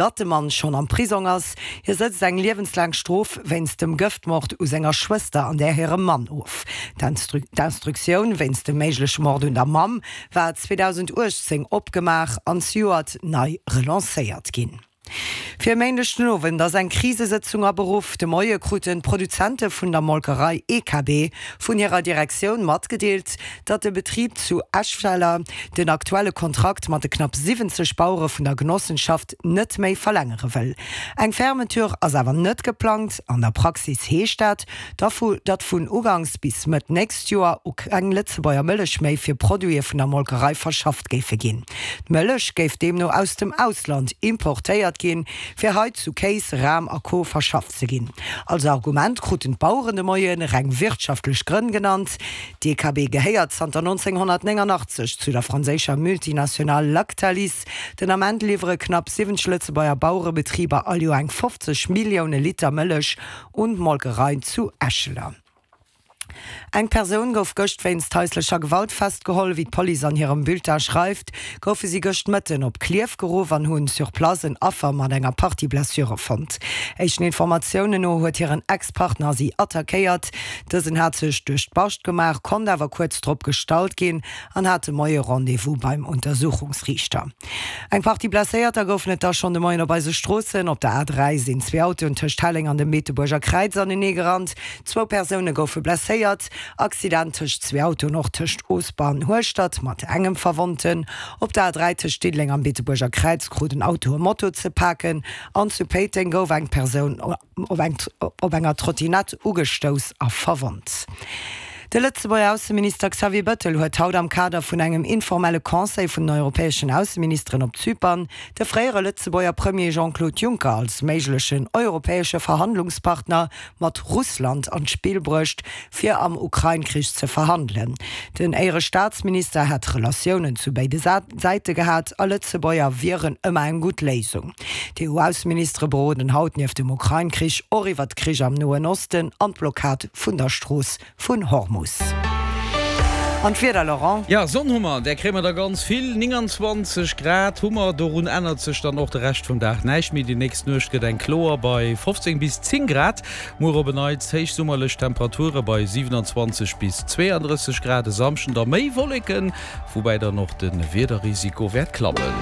Datt de Mann schonn am Prisong ass. Hie sëtzt eng liewenslaang Strof wéinst dem Gëftmord u senger Schwëster an där hirem Mann of. D'Instruktioun wéinst dem méigleche Mord un der Mamm war 2018 opgemaach an zejoert nei relancéiert ginn. Fir e Méindeg den Owend ass eng Krisesëtzung aberuff. De Moie kruten d'Produzente vun der Molkerei EKB vun hirer Direktioun matgedeelt, datt de Betrib zu Eschweiler den aktuelle Kontrakt mat de knapp 70 Bauere vun der Genossenschaft net méi verlängere wëll. Eng Fermeture ass awer net geplangt. An der Praxis heescht dat, datt vun ugangs bis Mëtt nächst Joer u keng Lëtzebuerger Mëllech méi fir Produite vun der Molkerei verschafft géife ginn. D'Mëllech géif deemno aus dem Ausland importéiert ginn, fir hei zu Kéis, Ram a Co verschafft ze ginn. Als Argument kruten d'Baueren de Moie reng wirtschaftlech Grënn genannt. D'EKB gehéiert zanter 1989 zu der franséischer Multinationale Lactalis. Den Ament liwwere knapp 70 Lëtzebuerger Bauerebetriber all Joer eng 50 Millioune Liter Mëllech un d'Molkerei zu Eschler. Eng Persoun gouf gëscht wéinst haislecher Gewalt festgeholl. Wéi d'Police an hirem Bulletin schreift, goufe si gëscht Mëtten op Klierf geruff an hunn sur place en Affer mat enger Partie Blessure fonnt. Éischten Informatiounen no huet hiren Ex-Partner si attackéiert. Dësen hat sech duerch d'Bascht gemaach, konnt awer kuerz drop gestallt ginn an hat de Moie Rendez-vous beim Untersuchungsriichter. Eng Partie Blesséierter goufen et da schonn de Moien op eise Stroossen. Op der A3 sinn zwee Autoen tëscht Helleng an dem Beetebuerger Kräiz anenee gerannt. Zwou Persoune goufe blesséiert. Accident tëscht zwee Autoen och tëscht Oosber an Hueschtert mat engem Verwonnten. Op der A3 tëscht Diddeleng am Beetebuerger Kräiz krut en Auto e Moto ze paken an zu Péiteng gouf eng Persoun op enger Trottinett ugestouss a verwonnt. De Lëtzebuerger Ausseminister Xavier Bettel huet haut am Kader vun engem informelle Conseil vun den europäeschen Ausseministeren op Zypern de fréiere Lëtzebuerger Premier Jean-Claude Juncker als méiglechen europäesche Verhandlungspartner mat Russland an d'Spill bruecht, fir am Ukrain-Krich ze verhandelen. Den Éierestaatsminister hätt Relatiounen zu béide Säite gehat a Lëtzebuerger wieren ëmmer eng gutt Léisung. D'EU-Ausseministere beroden haut nieft dem Ukrain-Krich och iwwer d'Krich am Noen Osten an d'Blockad vun der Strooss vun Hormus. An d'Wieder, Laurent? Jo, Sonn hu mer, där kréie mer der ganz vill. 29 Grad hu mer, dorun ännert sech dann och de Rescht vum Dag näischt méi. Déi nächst Nuecht gëtt eng kloer bei 15 bis 10 Grad. Muer op en Neits héichsummerlech Temperature bei 27 bis 32 Grad. E Samschden da méi Wolleken, woubäi dann och de Wiederrisiko wäert klammen.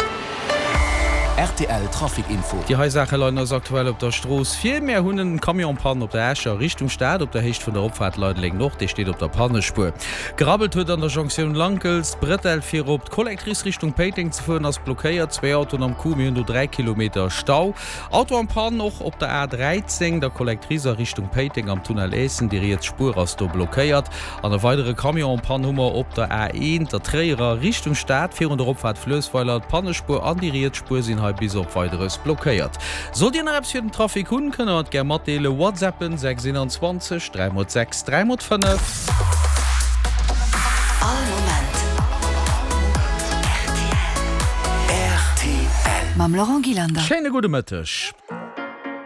Rtl Trafic Info. Déi hei Saache leien eis aktuell op der Strooss vir. Mär hunn en Camion en panne op der Escher Richtung Stad op der Héicht vun der Opfaart Leideleng Nord. Dee steet op der Pannespuer. Gerabbelt huet an der Jonktioun Lankels. D'Bretelle fir op d'Collectrice Richtung Péiteng ze fueren ass blockéiert. Zwee Autoen am Coup, mir hunn do 3 Kilometer Stau. Auto en panne och op der A 13, der Collectrice a Richtung Péiteng am Tunnel Eessen. Déi riets Spuer ass do blockéiert. An e weidere Camion en panne hu mer op der A1, der Tréierer Richtung Stad, virun der Opfaart Fluessweiler. D'Pannespuer an déi riets Spuer sinn hei bis op Weideres blockéiert. Sollt Dir nach eppes fir den Trafic hunn, kënnt der et gär matdeelen. Whatsappen 6 21 3 x 6 3 x 5. All Moment rtl. Mam Laurent Gillander. Schéine gudde Mëtteg.